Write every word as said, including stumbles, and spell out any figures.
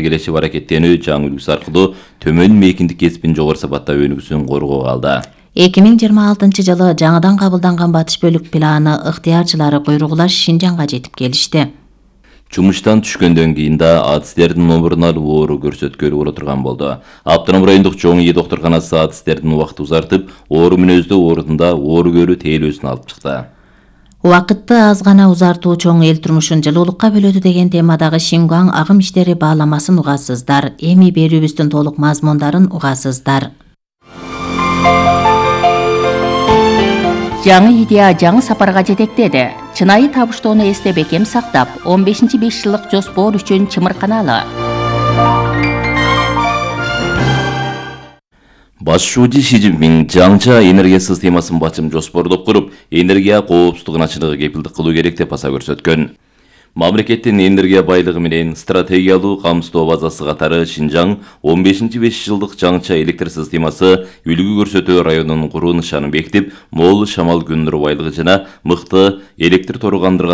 келешип аракеттенүү жаңы үлгүсү аркылуу төмөн мейкиндик кесибин жогору сапаттап өнүгүүсүн коргоого алды. эки миң жыйырма алтынчы жылы жаңыдан кабылданган батыш бөлүк планы ыктыярчылары куйругулаш Шинжаңга жетип келишти. Жумуштан түшкөндөн кийин да атистердин номурун алып оору көрсөткөлү боло турган болду. Автоном райондук чоң ий доктурканасы атистердин убакытты узартып, оору мүнөздүү оорутунда оору көрүү тейлөөсүн алып чыкты. Убакытты аз гана узартуу чоң эл турмушун жылуулукка бөлөдү деген темадагы Шингуаң агым иштери бааламасын угасыздар. Эми берүүбүздүн толук мазмундарын угасыздар. Жаңы идея жаңы сапарга жетектеди. Чынайы табыштоону эсте бекем сактап, он бешинчи беш жылдык жоспор үчүн чымырканалы. Баш шууучу Ши Цзиньпин жаңча энергия системасын бачым жоспордоп куруп, энергия коопсуздугун ачыгы кепилдик кылуу керек деп баса көрсөткөн. Мамлекеттин энергия байлыгы менен стратегиялуу камсыздоо базасы катары Шинжаң он бешинчи беш жылдык жаңча электр системасы үлгү көрсөтүү районунун куруу нышанын бекитип, мол шамал күн нуру байлыгы жана мыкты электр тору кандырган